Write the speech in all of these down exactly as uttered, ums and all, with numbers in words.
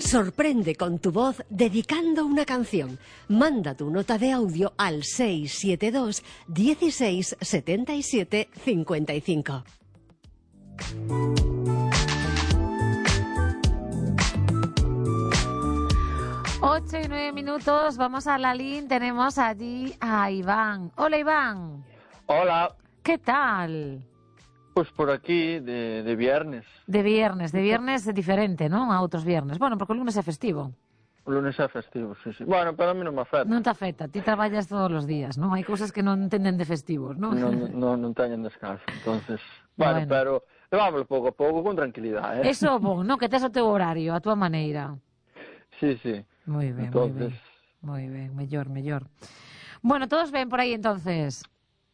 Sorprende con tu voz dedicando una canción. Manda tu nota de audio al seis siete dos, dieciséis, setenta y siete, cincuenta y cinco. Ocho y nueve minutos, vamos a la línea, tenemos allí a Iván. Hola, Iván. Hola. ¿Qué tal? Pues por aquí, de, de viernes. De viernes, de viernes diferente, ¿no? A otros viernes. Bueno, porque el lunes é festivo. O lunes é festivo, sí, sí. Bueno, pero a mí non me afecta. Non te afecta, ti traballas todos os días, ¿no? Hai cousas que non entenden de festivos, ¿no? Non, non, non teñen descanso, entonces... Bueno, Bueno. pero levámoslo pouco a pouco, con tranquilidade, eh? Eso é bon, ¿no? Que tes o teu horario, a túa maneira. Sí, sí. Moi ben, Entonces... moi ben. Moi ben, mellor, mellor. Bueno, todos ben por aí, entonces?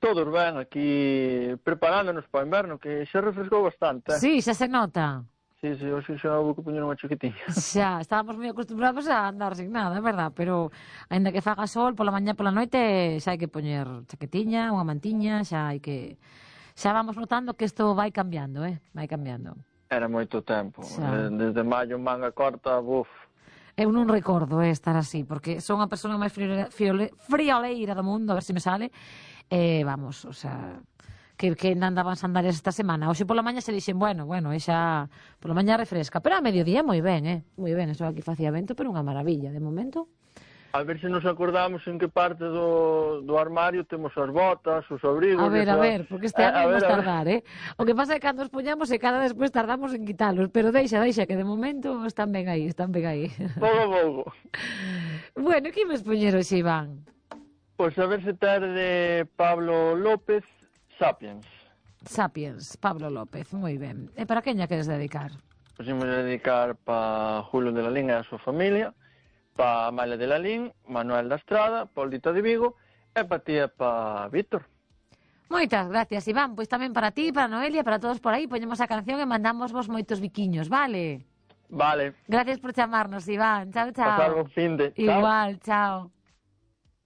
Todos ben, aquí preparándonos para o inverno, que xa refrescou bastante, eh? Sí, xa se nota. Sí, sí, hoxe xa houve que poñer unha chaquetiña. Xa, estábamos moi acostumbrados a andar sin nada, é verdad, pero aínda que faga sol pola mañá pola noite xa hai que poñer chaquetiña, unha mantiña, xa hai que... Xa vamos notando que isto vai cambiando, eh? Vai cambiando. Era moito tempo. Xa. Desde maio manga corta, buf. Eu non recordo eh, estar así, porque son a persona máis friole- friole- frioleira do mundo, a ver se me sale. Eh, vamos, o sea... que, que andaban sandalias esta semana. Hoxe pola mañá se dixen, bueno, bueno, e xa pola mañá refresca, pero a mediodía moi ben, eh? Moi ben, eso aquí facía vento, pero unha maravilla, de momento. A ver se nos acordamos en que parte do, do armario temos as botas, os abrigos... A ver, esa... a ver, porque este ano a vamos ver, a ver. tardar, eh? O que pasa é que cando os poñamos e cada despois tardamos en quitalos, pero deixa, deixa, que de momento están ben aí, están ben aí. Pouco a pouco. Bueno, que imos poñer hoxe, Iván? Pois a ver se ter de Pablo López, Sapiens. Sapiens, Pablo López, moi ben. E para quen lla queres dedicar? Pois imos a dedicar pa Julio de la Lín e a súa familia, pa Amalia de la Lín, Manuel da Estrada, Paulita de Vigo, e pa ti e pa Víctor. Moitas gracias, Iván. Pois tamén para ti, para Noelia, para todos por aí, poñemos a canción e mandamos vos moitos biquiños, vale? Vale. Gracias por chamarnos, Iván. Chao, chao. Pasar bon fin de. Chao. Igual, chao.